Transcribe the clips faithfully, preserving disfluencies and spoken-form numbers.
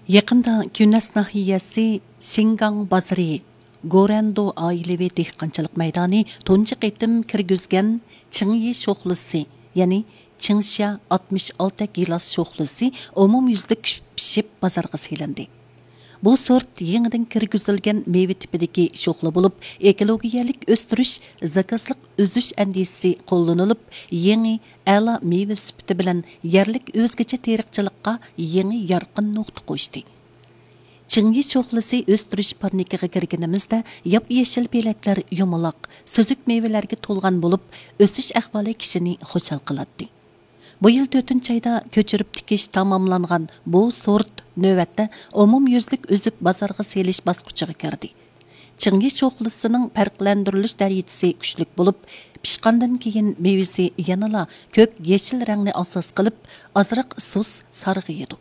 يېقىندا كۈنەس ناھىيەسى شىنگاڭ بازىرى گورەندو ئائىلىۋى دېھقانچىلىق مەيدانى تۇنجى قېتىم كىرگۈزگەن چىڭيى شوخلىسى، يەنى چىڭشيا ئاتمىش ئالتە گىلاس شوخلىسى ئومۇميۈزلۈك پىشىپ بازارغا سېلىندى. بۇ سورت يېڭىدىن كىرگۈزۈلگەن مېۋە تىپىدىكى شوخلا بولۇپ، ئېكولوگىيەلىك ئۆستۈرۈش، زاكازلىق ئۈزۈش ئەندىزىسى قوللىنىلىپ، يېڭى ئەلا مېۋە سۈپىتى بىلەن يەرلىك ئۆزگىچە تېرىقچىلىققا يېڭى يارقىن نۇقتا قوشتى. چىڭيى شوخلىسى ئۆستۈرۈش پارنىكىغا كىرگىنىمىزدە، ياپيېشىل پېلەكلەر يۇمىلاق، سۈزۈك مېۋىلەرگە تولغان بولۇپ، ئۆسۈش ئەھۋالى كىشىنى خۇشال قىلاتتى. بۇ يىل تۆتىنچى ئايدا كۆچۈرۈپ تىكىش تاماملانغان بۇ سورت نۆۋەتتە ئومۇميۈزلۈك ئۈزۈپ بازارغا سېلىش باسقۇچىغا كىردى. چىڭيى شوخلىسىنىڭ پەرقلەندۈرۈلۈش دەرىجىسى كۈچلۈك بولۇپ، پىشقاندىن كېيىن مېۋىسى يەنىلا كۆك يېشىل رەڭنى ئاساس قىلىپ، ئازراق سۇس سارغىيىدۇ.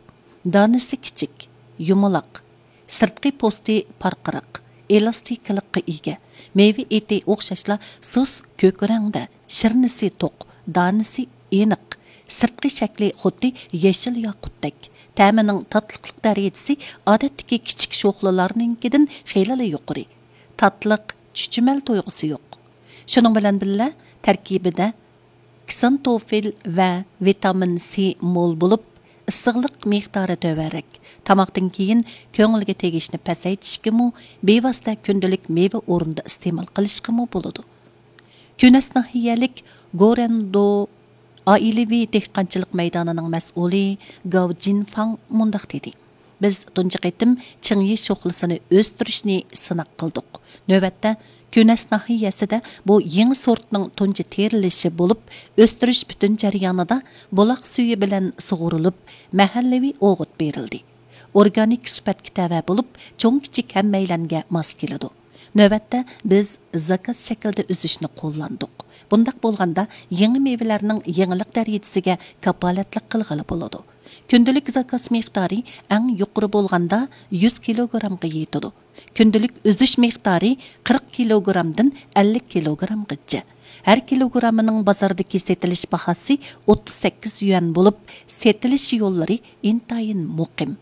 دانىسى كىچىك، يۇمىلاق، سىرتقى پوستى پارقىراق، ئېلاستىكىلىققا ئىگە. مېۋە ئېتى ئوخشاشلا سۇس كۆك رەڭدە، شىرنىسى توق، دانىسى ئېنىق، سىرتقى شەكلى خۇددى يېشىل ياقۇتتەك. تەمىنىڭ تاتلىقلىق دەرىجىسى ئادەتتىكى كىچىك شوخلىلارنىڭكىدىن خېلىلا يۇقىرى. تاتلىق، چۈچۈمەل تۇيغۇسى يوق. شۇنىڭ بىلەن بىللە، تەركىبىدە كسانتوفىل ۋە ۋىتامىن سى مول بولۇپ، ئىسسىقلىق مىقدارى تۆۋەنرەك. تاماقتىن كېيىن كۆڭۈلگە تېگىشنى پەسەيتىشكىمۇ، بىۋاسىتە كۈندىلىك مېۋە ئورنىدا ئىستېمال قىلىشقىمۇ بولىدۇ. كۈنەس ناھىيەلىك گورەندو ئائىلىۋى دېھقانچىلىق مەيدانىنىڭ مەسئۇلى گاۋ جىنفاڭ مۇنداق دېدى: بىز تۇنجى قېتىم چىڭيى شوخلىسىنى ئۆستۈرۈشنى سىناق قىلدۇق. نۆۋەتتە، كۈنەس ناھىيەسىدە بۇ يېڭى سورتنىڭ تۇنجى تېرىلىشى بولۇپ، ئۆستۈرۈش پۈتۈن جەريانىدا بۇلاق سۈيى بىلەن سۇغۇرۇلۇپ، مەھەللىۋى ئوغۇت بېرىلدى. ئورگانىك سۈپەتكە تەۋە بولۇپ، چوڭ-كىچىك ھەممەيلەنگە ماس كېلىدۇ. نۆۋەتتە بىز زاكاز شەكلىدە ئۈزۈشنى قوللاندۇق. بۇنداق بولغاندا، يېڭى مېۋىلەرنىڭ يېڭىلىق دەرىجىسىگە كاپالەتلىك قىلغىلى بولىدۇ. كۈندىلىك زاكاز مىقدارى ئەڭ يۇقىرى بولغاندا يۈز كىلوگرامغا يېتىدۇ. كۈندىلىك ئۈزۈش مىقدارى قىرىق كىلوگرامدىن ئەللىك كىلوگرامغىچە. ھەر كىلوگرامىنىڭ بازاردىكى سېتىلىش باھاسى ئوتتۇز سەككىز يۈەن بولۇپ، سېتىلىش يوللىرى ئىنتايىن مۇقىم.